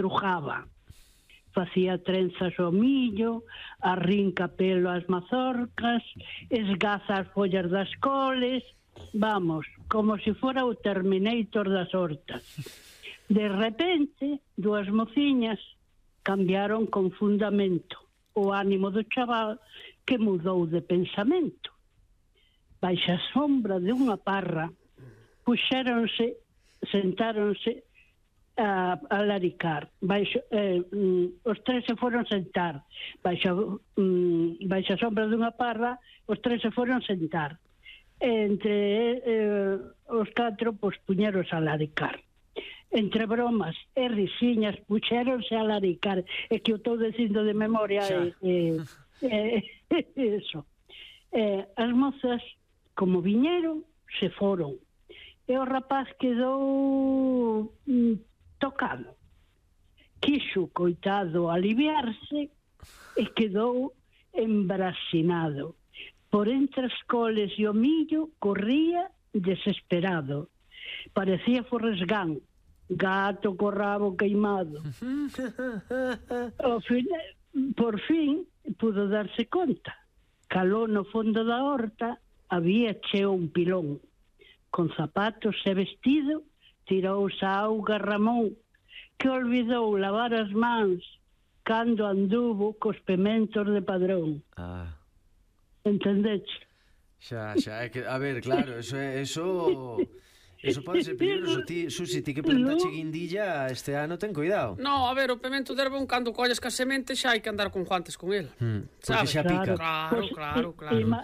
estrujaba. Facía trenzas ao millo, arrinca pelo ás mazorcas, esgaza as follas das coles, vamos, como se fora o Terminator das hortas. De repente, dúas mociñas cambiaron con fundamento o ánimo do chaval que mudou de pensamento. Baixa a sombra de unha parra, sentáronse a laricar. Os tres se foron sentar. Baixa a sombra dunha parra, os tres se foron sentar. Entre os catro, pois, puñeros a laricar. Entre bromas e risiñas, puxéronse a laricar. É que eu estou dicindo de memoria eso. As mozas, como viñeron, se foron. E o rapaz quedou tocado. Quixo, coitado, aliviarse e quedou embrasinado. Por entre as coles e o millo corría desesperado. Parecía Forrest Gump, gato co rabo queimado. Por fin pudo darse conta. Caló no fondo da horta, había cheo un pilón. Con zapatos e vestido, tirouse a auga Ramón, que olvidou lavar as mans cando anduvo cos pementos de Padrón. Entendeche? Xa, é que, a ver, claro, eso pode ser peligroso. Susi, ti que plantache guindilla este ano, ten cuidado. No, a ver, o pemento de herbón, cando colles ca semente, xa hai que andar con guantes con el. Porque xa pica. Claro.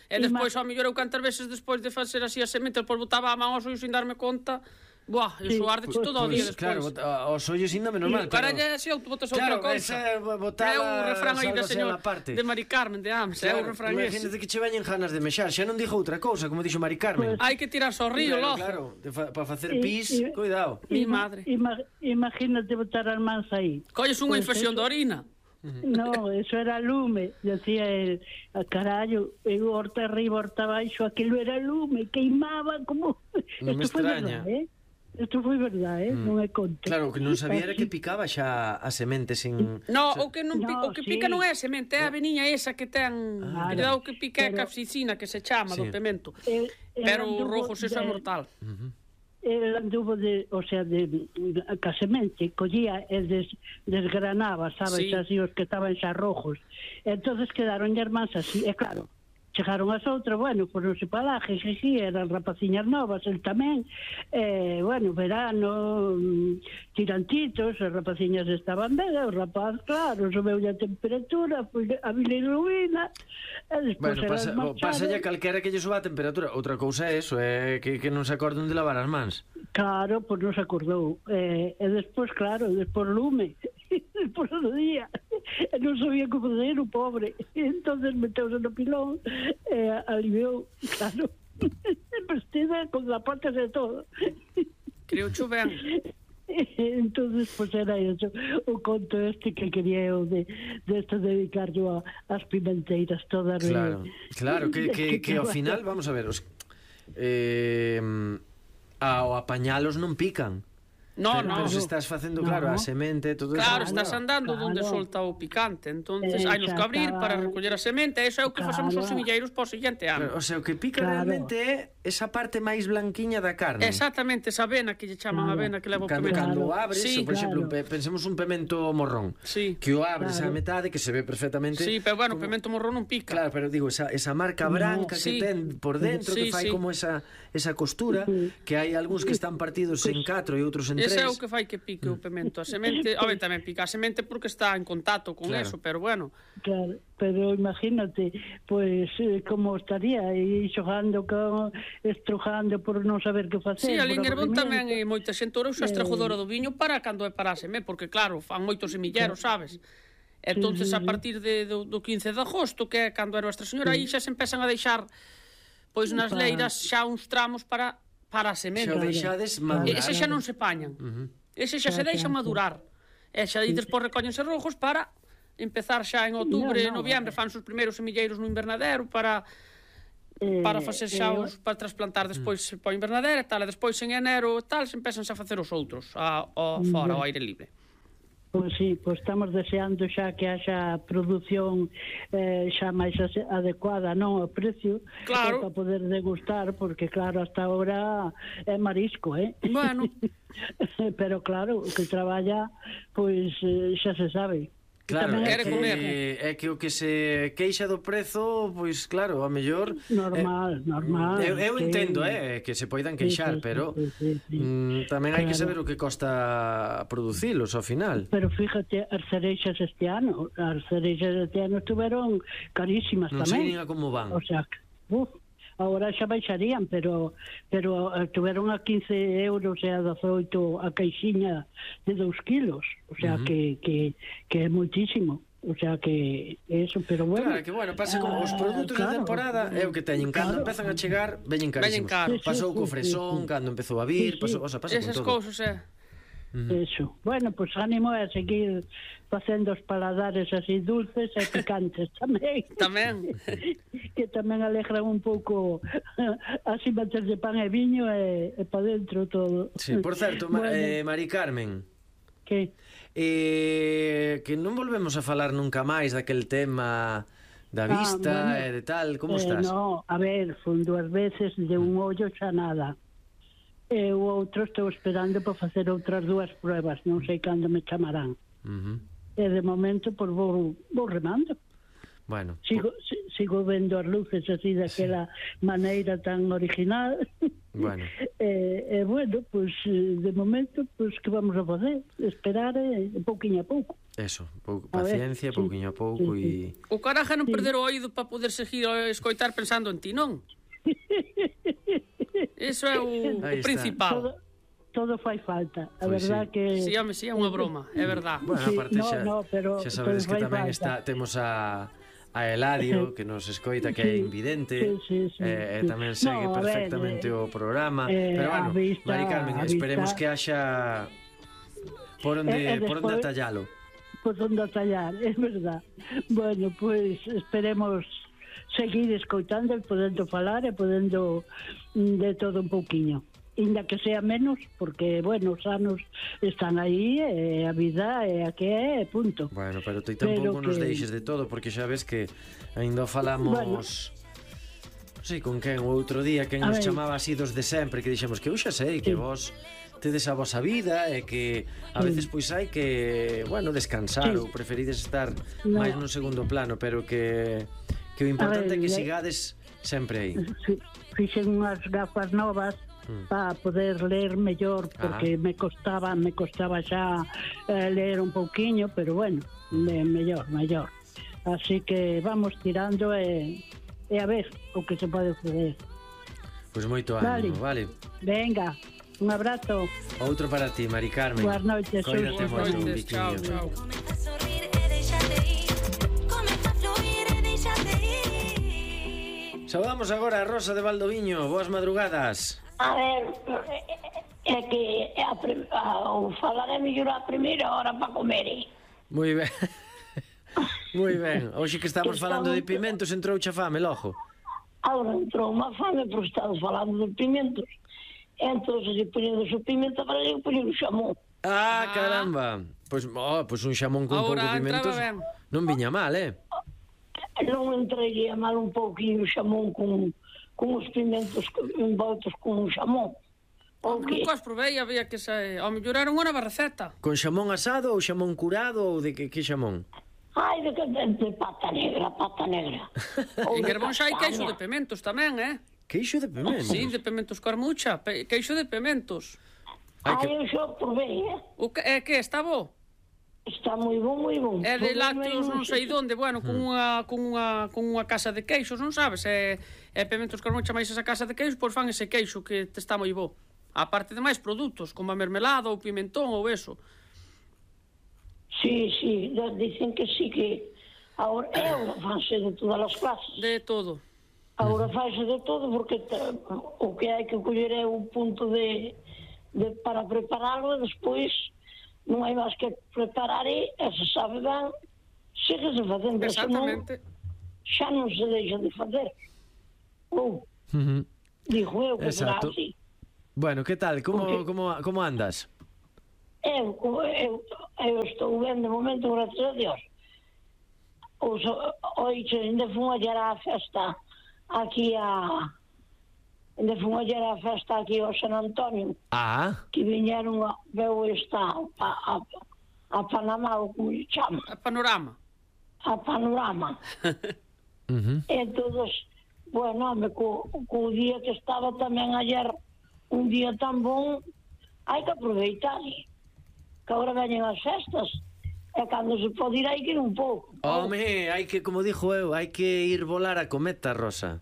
E despois, ao mellor, eu cantas veces despois de facer así a semente, depois botaba a man aos ollos sin darme conta. Buah, iso ardeche todo o día despois. Claro, os ollos ainda menos mal. Caralla, se botas outra cousa. É o refrán aí da señora de Mari Carmen, de Ames. É o refrán ese. Imagínate que che veñen ganas de mexar. Xa non dixo outra cousa, como dixo Mari Carmen. Hai que tirarse ao río, logo. Claro, para facer pis, cuidado. Mi madre. Imagínate botar as mans aí. Colles unha infección de orina. No, eso era lume, decía el carallo, horta arriba, horta abaixo, aquilo era lume, queimaba como... Non me extraña. Isto foi verdade, non é conto. Claro, o que non sabía era que picaba xa a semente sin... No, o que pica non é a semente, é a veniña esa que ten... Cuidado que pica a capsicina, que se chama, do pemento. Pero o rojo eso é mortal. El anduvo ca semente, collía e desgranaba, sabes, así os que estaban xa rojos. Entonces quedaron irmáns así, e claro, chegaron as outras, bueno, por non se palaje, eran rapaciñas novas, el tamén, bueno, verano, tirantitos, as rapaciñas estaban ben, o rapaz, claro, subeulle a temperatura, a bilirrubina, e despois pasa ya calquera que lle suba a temperatura. Outra cousa é eso, é que non se acorden de lavar as mans. Claro, pois non se acordou, e despois, claro, despois lume, despois do día, e non sabía como fazer o pobre, e entonces meteuse no pilón, e aliviou, claro, vestida con zapatos e todo. Creo cho ben. Entonces, pues era eso, o conto este que quería eu de esto dedicar yo ás pimenteiras todas. Claro, que ao final, vamos a ver, ao apañalos non pican. Pero se estás facendo, claro, a semente, todo eso. Claro, estás andando onde solta o picante. Entonces hai nos que abrir para recoller a semente. Eso é o que facemos os semilleiros para o seguinte ano. O sea, o que pica realmente é esa parte máis blanquiña da carne. Exactamente, esa avena que lle chaman avena que leva o pemento. Cando abres, por exemplo, pensemos un pemento morrón, que o abres a metade, que se ve perfectamente. Sí, pero bueno, o pemento morrón non pica. Claro, pero digo, esa marca branca que ten por dentro, que fai como esa costura, que hai algúns que están partidos en 4 e outros en 3. Ese é o que fai que pique o pemento. A semente, a ver, tamén pica a semente porque está en contacto con eso, pero bueno. Claro, pero imagínate, pues como estaría aí xogando, estrujando por non saber que facer. Sí, ali en Herbón tamén moita xente ora usa a estrajadora do viño para cando é para a semente, porque claro, fan moitos semilleros, sabes? Entonces a partir do 15 de agosto, que é cando era Nuestra Señora, aí xa se empezan a deixar pois nas leiras xa uns tramos para a semente. Xa o deixades madurar. Ese xa non se pañan. Ese xa se deixa madurar. E xa aí despois recóllense rojos para empezar xa en outubro e noviembre, fan os primeiros semilleiros no invernadero para facer xa para trasplantar despois para o invernadero e tal, e despois en enero tal se empezan a facer os outros fora ao aire libre. Pois sí, pois estamos deseando xa que haxa produción xa máis adecuada, non, ao precio, claro, para poder degustar, porque claro, hasta ahora é marisco, Bueno. Pero claro, o que traballa, pois xa se sabe. Claro, é que o que se queixa do prezo, pois claro, a mellor normal. Eu entendo, que se poidan queixar, pero tamén hai que saber o que costa producilos ao final. Pero fíjate, as cereixas este ano estuveron carísimas tamén. Non sei nin a como van. O sea, agora xa baixarían, pero estuveron a 15 euros e a 18 a caixinha de 2 kilos, o sea que é moitísimo, o sea que eso, pero bueno. Claro, que bueno, pasa como os produtos de temporada é o que teñen, cando empezan a chegar veñen carísimos. Pasou co fresón, cando empezou a vir, pasa con todo. Esas cousas, Eso. Bueno, pues ánimo a seguir facendo os paladares así dulces e picantes tamén. Tamén. Que tamén alegran un pouco así bater de pan e viño e pa dentro todo. Sí, por certo, bueno. Mari Carmen. Que? Que non volvemos a falar nunca máis daquel tema da vista e de tal, como estás? No, a ver, fun 2 veces de un ollo xa nada. E o outro estou esperando para facer outras 2 pruebas, non sei cando me chamarán. E de momento, pois vou remando. Bueno, sigo vendo as luces así daquela maneira tan original. Bueno. Bueno, pois de momento, pois que vamos a facer? Esperar pouquiño a pouco. Eso, paciencia, pouquiño a pouco e... O caraja non perder o oído para poder seguir a escoitar pensando en ti, non? Eso é o principal. Todo fai falta. A verdad que... Sí, home, sí, é unha broma, é verdad. Bueno, aparte xa sabedes que tamén temos a Eladio, que nos escoita, que é invidente, e tamén segue perfectamente o programa. Pero bueno, Mari Carmen, esperemos que haxa por onde atallalo. Por onde atallar, é verdad. Bueno, pois esperemos seguir escoitando e podendo falar e podendo de todo un pouquiño, inda que sea menos, porque, bueno, os anos están aí e a vida é a que é, punto. Bueno, pero ti tampouco nos deixes de todo, porque xa ves que ainda falamos... Non sei con quen o outro día, quen nos chamaba así dos de sempre, que dixemos que eu xa sei que vos tedes a vosa vida e que a veces pois hai que, bueno, descansar ou preferides estar máis nun segundo plano, pero que o importante é que sigades sempre aí. Fixen unhas gafas novas para poder ler mellor, porque me costaba xa ler un pouquiño, pero bueno, mellor. Así que vamos tirando e a ver o que se pode fazer. Pois moito ánimo, vale? Venga, un abrazo. Outro para ti, Mari Carmen. Boas noites, Coídate moito, un chao. Saudamos agora a Rosa de Valdoviño. Boas madrugadas. A ver, é que ao falar é mellor a primeira hora para comer. Moi ben. Moi ben. Hoxe que estamos falando de pimentos, entrou xa fame, logo. Agora entrou unha fame por estar falando de pimentos. Entón, se poñendo o pimento para eu poñer o xamón. Caramba. Pois un xamón con pouco de pimentos non viña mal, Non entreguei mal un pouquinho o xamón con os pimentos envoltos con o xamón. Nunca os provei, había que ao mellor era unha nova receta. Con xamón asado ou xamón curado ou de que xamón? Ai, de pata negra. En Germón xa hai queixo de pimentos tamén, Queixo de pimentos? Sí, de pimentos carmucha, queixo de pimentos. Eu xa provei, É que está bo? Está moi bon. É de lácteos non sei onde, bueno, con unha casa de queixos, non sabes? É pimentos carmucha máis esa casa de queixos, pois fan ese queixo que está moi bo. A parte de máis produtos, como a mermelada ou pimentón ou eso. Sí, dicen que sí, que agora fanse de todas as clases. De todo. Agora fanse de todo, porque o que hai que coller é un punto para prepararlo e despois non hai máis que preparar e se sabe ben, síguese facendo. Exactamente. Xa non se deixa de fazer. Digo eu que será así. Bueno, que tal? Como andas? Eu estou ben de momento, gracias a Dios. Oixe, ainda fun ayer á festa aquí ao San Antonio. Que viñeron veu esta a Panamá, como se chama? A Panorama. A Panorama. Entón, bueno, co día que estaba tamén ayer, un día tan bon, hai que aproveitar, que agora veñen as festas, e cando se pode ir hai que ir un pouco. Home, hai que, como dixo eu, hai que ir volar a cometa, Rosa.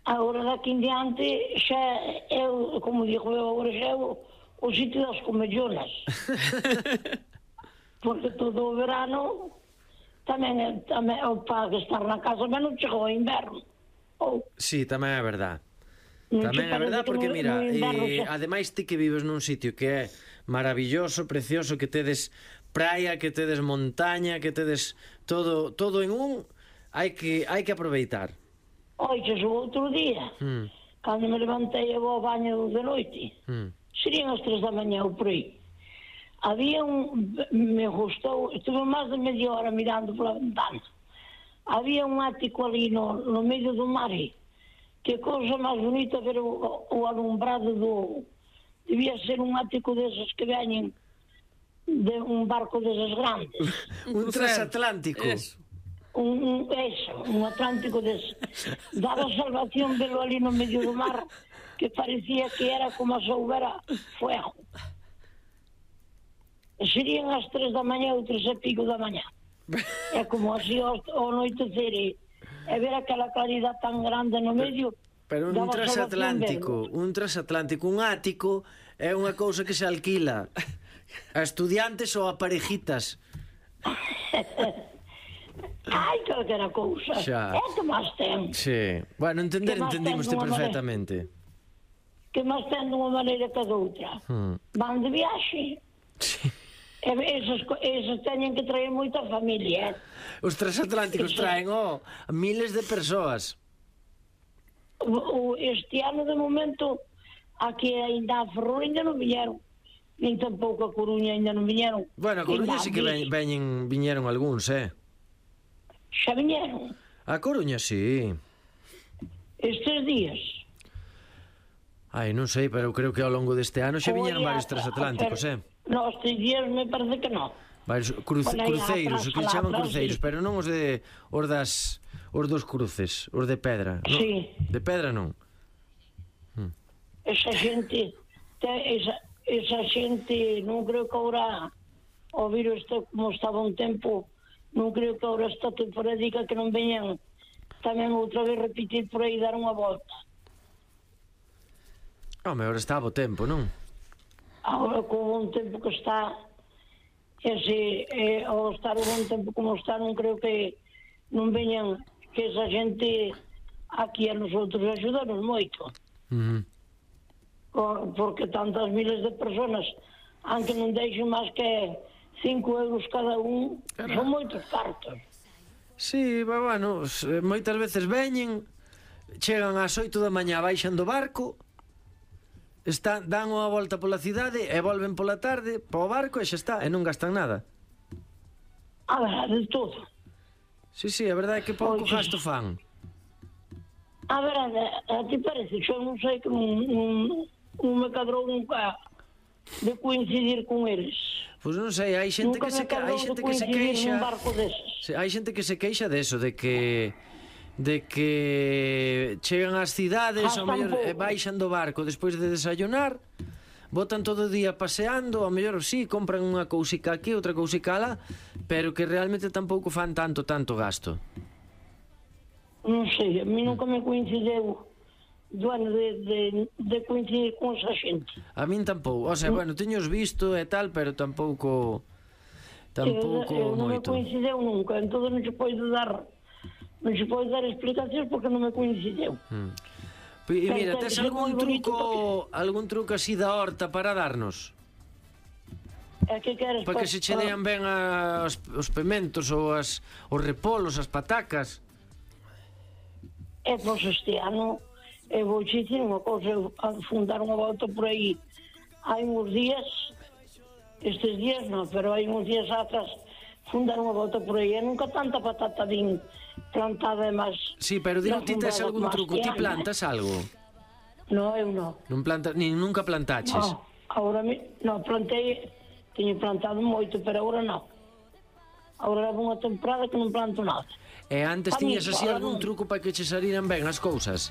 Agora daqui en diante xa eu, como dixo eu, agora xa é o sitio das comellonas. Porque todo o verano tamén para estar na casa, mas non chegou o inverno. Sí, tamén é verdad. Tamén é verdad, porque mira, ademais ti que vives nun sitio que é maravilloso, precioso, que tedes praia, que tedes montaña, que tedes todo en un, hai que aproveitar. Oixe, o outro día, cando me levantei e vou ao baño de noite, serían as 3 da mañá ou por aí. Había me gustou, estuve máis de media hora mirando pola ventana. Había un ático ali no medio do mar, que cousa máis bonita ver o alumbrado debía ser un ático deses que veñen de un barco deses grandes. Un transatlántico. Un Atlántico deses. Daba salvación velo ali no medio do mar, que parecía que era como se houbera fuego. Serían as 3 da mañá ou 3 e pico da mañá. É como así ao anoitecer e ver aquela claridade tan grande no medio. Pero un transatlántico, un ático é unha cousa que se alquila a estudiantes ou a parejitas. Ai, calquera cousa. É que máis ten. Sí. Bueno, entendimos perfectamente. Que máis ten dunha maneira que doutra. Van de viaxe. Sí. Eses teñen que traer moita familia. Os transatlánticos traen miles de persoas. Este ano, de momento, aquí ainda a Ferrol ainda non viñeron. Nin tampouco a Coruña ainda non viñeron. Bueno, a Coruña sí que viñeron algúns, Xa viñeron? A Coruña, sí. Estes días? Ai, non sei, pero creo que ao longo deste ano xa viñeron varios transatlánticos, No, estes días me parece que non. Varios cruceiros, o que se chaman cruceiros, pero non os dos cruces, os de pedra. Sí. De pedra non. Esa xente non creo que agora o virus como estaba un tempo, non creo que agora esta temporadica que non veñan tamén outra vez repetir por aí dar unha volta. Home, agora está bo tempo, non? Agora con un tempo que está ao estar un tempo como está, non creo que non veñan que esa xente aquí a nosotros axudaron moito. Porque tantas miles de personas, aunque non deixen máis que 5 euros cada un, son moitos cartos. Sí, bueno, moitas veces veñen, chegan ás 8 da mañá, baixan do barco, dan unha volta pola cidade e volven pola tarde para o barco e xa está, e non gastan nada. A verdade, de todo. Sí, a verdade é que pouco gasto fan. A verdade, a ti parece, eu non sei que non me cadrou nunca de coincidir con eles. Pois non sei, hai xente que se queixa. Hai xente que se queixa deso, de que chegan ás cidades, ao mellor baixan do barco despois de desayunar, botan todo o día paseando, ao mellor sí, compran unha cousica aquí, outra cousica alá, pero que realmente tampouco fan tanto gasto. Non sei, a mí nunca me coincideu de coincidir con esa xente. A min tampouco, o sea, bueno, teños visto e tal, pero tampouco non me moito. Coincideu nunca, entón non se pode dar explicacións porque non me coincideu. E mira, tes algún truco así da horta para darnos? Que queres? Para que se che dean ben os pementos ou os repolos, as patacas? Pois este ano vou dicir unha cousa, a fundar unha volta por aí hai uns días Estes días non, pero hai uns días atrás fundar unha volta por aí, e nunca tanta patata din plantada e máis... Sí, pero dino ti tes algún truco, ti plantas algo? No, eu non. Non plantas, nin nunca plantaches? No, agora non, plantei, teño plantado moito, pero agora non. Agora levo unha temporada que non planto nada. E antes tiñas así algún truco para que che saliran ben as cousas?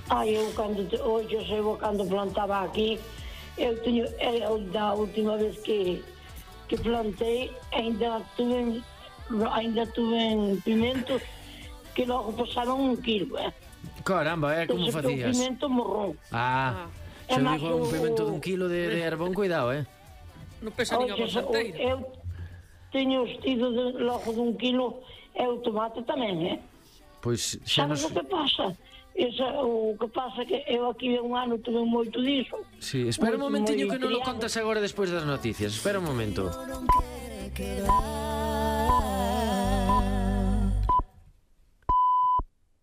Eu cando plantaba aquí, eu teño, da última vez que plantei, ainda tuve pimentos que logo pasaron 1 kilo, Caramba, como facías? O pimento morrón. Xa digo, un pimento de 1 kilo de herbón, cuidado, Non pesa nin a bolsanteira. Eu teño estido logo de 1 kilo, e o tomate tamén, Pois xa sabes o que pasa? O que pasa que eu aquí un ano tuve moito diso. Sí, espera un momentiño que non lo contas agora despois das noticias. Espera un momento.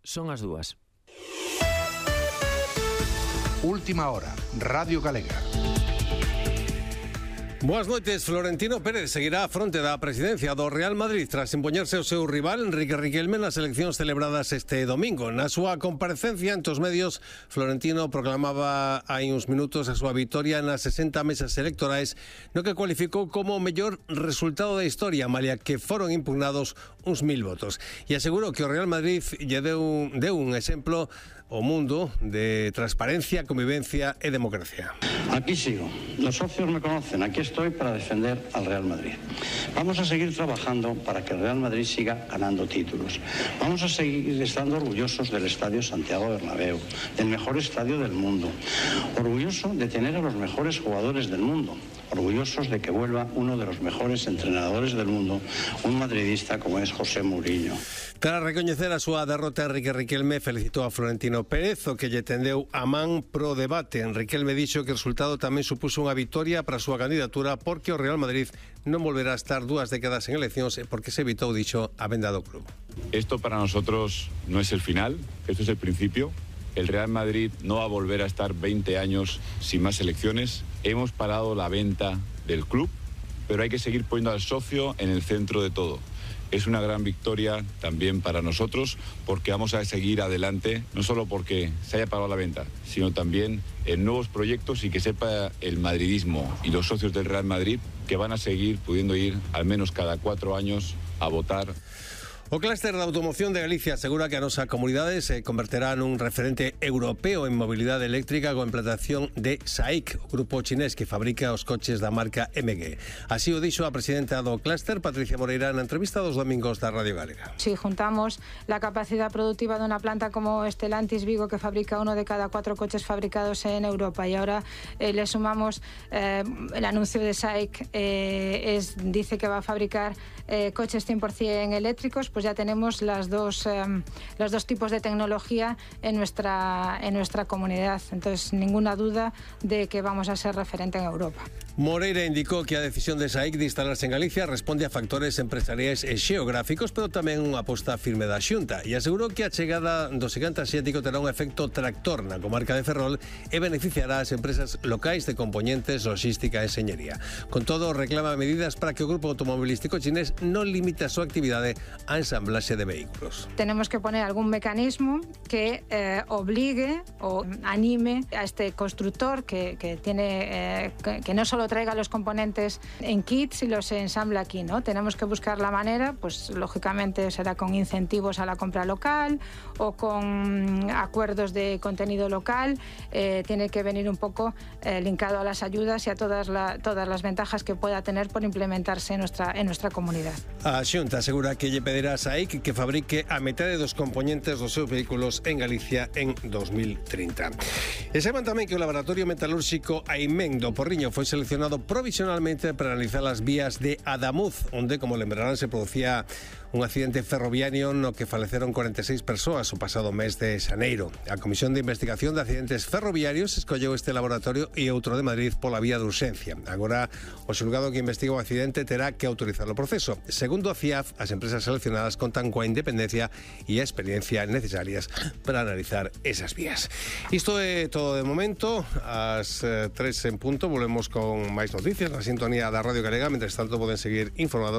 Son as 2. Última hora, Radio Galega. Boas noites. Florentino Pérez seguirá á fronte da presidencia do Real Madrid tras impoñerse o seu rival Enrique Riquelme nas eleccións celebradas este domingo. Na súa comparecencia ante os medios, Florentino proclamaba hai uns minutos a súa vitoria nas 60 mesas electorais, no que cualificou como o mellor resultado da historia, malia que foron impugnados uns 1000 votos. E asegurou que o Real Madrid lle deu un exemplo ao mundo de transparencia, convivencia e democracia. Aquí sigo. Los socios me conocen. Aquí estoy para defender al Real Madrid. Vamos a seguir trabajando para que el Real Madrid siga ganando títulos. Vamos a seguir estando orgullosos del Estadio Santiago Bernabéu, del mejor estadio del mundo. Orgulloso de tener a los mejores jugadores del mundo. Orgullosos de que vuelva uno de los mejores entrenadores del mundo, un madridista como es José Mourinho. Para recoñecer a súa derrota, Enrique Riquelme felicitou a Florentino Pérez, o que lle tendeu a man pro debate. Riquelme dixo que o resultado tamén supuso unha vitoria para a súa candidatura porque o Real Madrid non volverá a estar 2 décadas en eleccións e porque se evitou, dixo, a venda do club. Esto para nosotros no es el final, esto es el principio. El Real Madrid no va a volver a estar 20 años sin más elecciones. Hemos parado la venta del club, pero hay que seguir poniendo al socio en el centro de todo. Es una gran victoria también para nosotros porque vamos a seguir adelante, no solo porque se haya parado la venta, sino también en nuevos proyectos y que sepa el madridismo y los socios del Real Madrid que van a seguir pudiendo ir al menos cada 4 años a votar. O clúster da automoción de Galicia asegura que a nosa comunidade se converterá nun referente europeo en mobilidade eléctrica coa implantación de SAIC, o grupo chinés que fabrica os coches da marca MG. Así o dixo a presidenta do clúster, Patricia Moreira, na entrevista dos domingos da Radio Galega. Si juntamos la capacidad productiva de una planta como Stellantis Vigo, que fabrica 1 de cada 4 coches fabricados en Europa, y ahora le sumamos el anuncio de SAIC, dice que va a fabricar coches 100% eléctricos, pues ya tenemos los dos tipos de tecnología en nuestra comunidad. Entonces, ninguna duda de que vamos a ser referente en Europa. Moreira indicou que a decisión de SAIC de instalarse en Galicia responde a factores empresariais e xeográficos, pero tamén unha aposta firme da Xunta, e asegurou que a chegada do xigante asiático terá un efecto tractor na comarca de Ferrol e beneficiará as empresas locais de componentes, logística e enxeñería. Con todo, reclama medidas para que o grupo automobilístico chinés non limite a súa actividade a ensamblaxe de vehículos. Tenemos que poner algún mecanismo que obligue o anime a este constructor que no solo traiga los componentes en kits y los ensambla aquí, ¿no? Tenemos que buscar la manera, pues lógicamente será con incentivos a la compra local o con acuerdos de contenido local. Tiene que venir un poco linkado a las ayudas y a todas las ventajas que pueda tener por implementarse en nuestra comunidad. A Xunta asegura que lle pedirá a SAIC que fabrique a metade dos componentes dos seus vehículos en Galicia en 2030. E saben tamén que o laboratorio metalúrxico Aimen do Porriño foi seleccionado provisionalmente para analizar as vías de Adamuz, onde, como lembrarán, se producía un accidente ferroviario no que faleceron 46 persoas o pasado mes de xaneiro. A Comisión de Investigación de Accidentes Ferroviarios escolleu este laboratorio e outro de Madrid pola vía de urxencia. Agora, o xulgado que investiga o accidente terá que autorizar o proceso. Segundo a CIAF, as empresas seleccionadas contan coa independencia e a experiencia necesarias para analizar esas vías. Isto é todo de momento. Ás 3 en punto volvemos con máis noticias na sintonía da Radio Galega. Mentres tanto, poden seguir informados